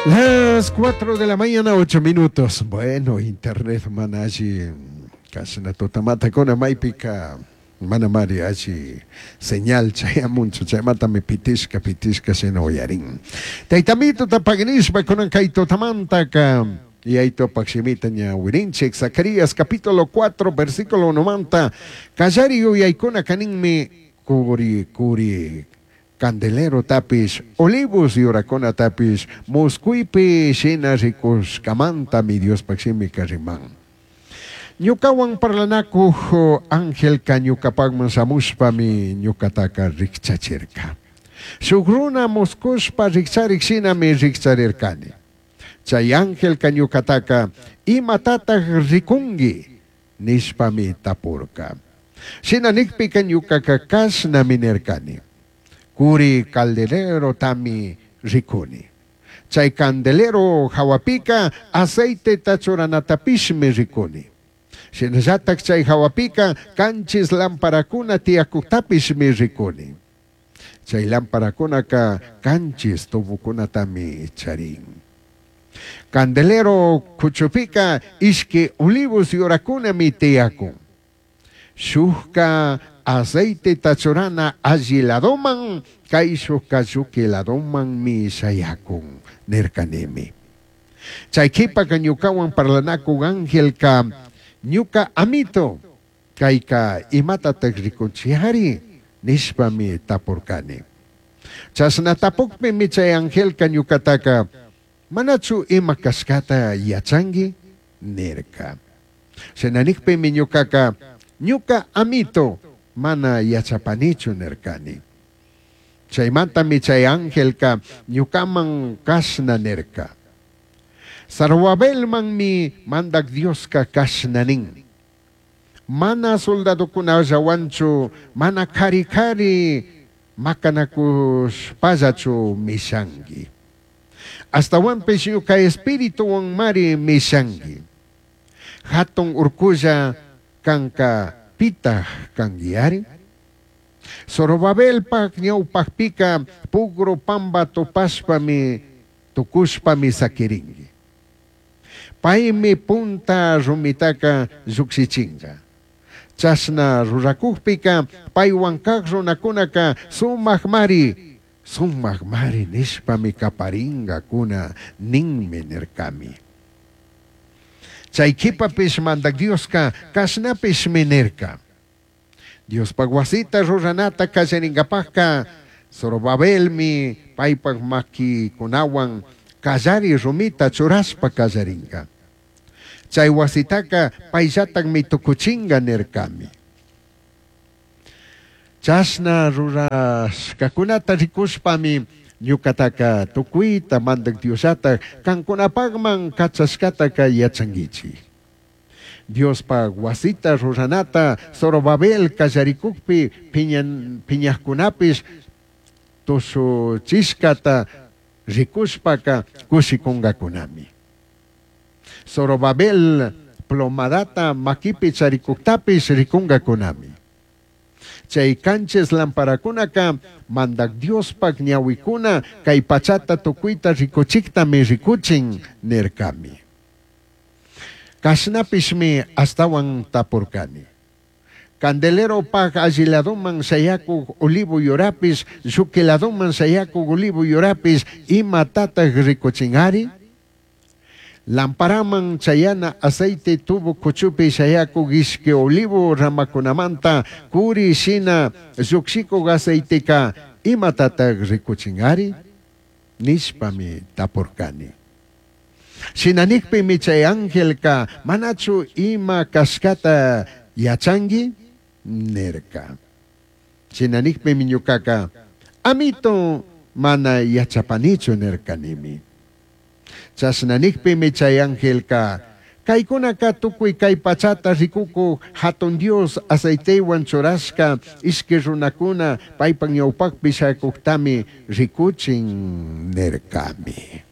Las 4 de la mañana, 8 minutos. Bueno, internet mana alli kashna tutamantakuna maypika manamari alli señal chayamunchu, chaymantami pitishka pitishka shina uyarin. Taytamituta paginishpa kunan kay tutamantaka Yaitopak shimita ñawirinchik. Zacarías capítulo 4 versículo 1manta kallari yuyaykuna kaninmi kuri kuri candelerotapish, olivos yuracunatapish muscuipi shina ricushcamantami Diospaj shimica riman. Ñucahuan parlanacuj angelca ñucapajman shamushpami ñucataca rijchachirca. Shuj runa muscushpa rijcharij shinami rijcharircani. Chai angelca ñucataca, Imatataj ricungui? nishpami tapurca. Shina nijpica ñucaca cashnami nircani, Curi caldelerotami ricuni. Chai candelero jahuapica aceiteta churanatapishmi ricuni. Shinallataj chai jahuapica canchis lamparacuna tiyacujtapishmi ricuni. Chai lamparacunaca canchis tubocunatami charin. Candelero cuchupica ishqui olivos yuracunami tiyacun. Shujca aceiteta churana alli ladoman, caishujca lluqui ladomanmi shayacun, nircanimi. Chai quipaca ñucahuan parlanacuj angelca, Ñuca amito, Caica imatataj ricunchiyari? nishpami tapurcani. Chashna tapujpimi chai angelca ñucataca, Manachu ima cashcata yachangui? nirca. Shina nijpimi ñucaca, Ñuca amito, mana yachapanichu nircani. Chaimantami chai angelca ñucaman cashna nirca, Zorobabelmanmi Mandaj Diosca cashna nin, Mana soldadocunallahuanchu, mana cari cari macanacushpallachu mishangui. Ashtahuanpish ñuca espirituhuanmari mishangui. Jatun urculla canca pitaj canguiyari? Zorobabelpaj ñaupajpica pugru pamba tupashpami tucushpami saquiringui. Paimi punta rumitaca llujshichinga. Chashna ruracujpica paihuan caj runacunaca sumajmari, sumajmari nishpami caparingacuna ninmi nircami. Chai quipapish Mandaj Diosca cashnapishmi nirca. Diospaj huasita ruranata callaringapajca Zorobabelmi paipaj maquicunahuan callari rumita churashpa callaringa. Chai huasitaca paillatajmi tucuchinga nircami. Chashna rurashcacunata ricushpami ñucataca tucuita Mandaj Diosllataj cancunapajman cachashcataca yachanguichij. Diospaj huasita ruranata Zorobabel callaricujpi piñajcunapish tushuchishcata ricushpaca cushicungacunami. Zorobabel plomadata maquipi charicujtapish ricungacunami. Chai canchis lamparacunaca Mandaj Diospaj ñahuicuna cai pachata tucuita ricuchijtami ricuchin nircami. Cashnapishmi ashtahuan tapurcani. Candeleropaj alli ladoman shayacuj olivo yurapish, lluqui ladoman shayacuj olivo yurapish imatataj ricuchingari? Lamparaman chayana aceite tubo cuchupi shayacuj ishqui olivo ramacunamanta curi shina llujshicuj aceiteca imatataj ricuchingari? nishpami tapurcani. Shina nijpimi chai angelca, Manachu ima cashcata yachangui? nirca. Shina nijpimi ñucaca, Amito, mana yachapanichu nircanimi. Chashna nijpimi chai angelca, Caicunaca tucui cai pachata ricucuj Jatun Dios aceitehuan churashca ishqui runacuna paipaj ñaupajpi shayacujtami ricuchin nircami.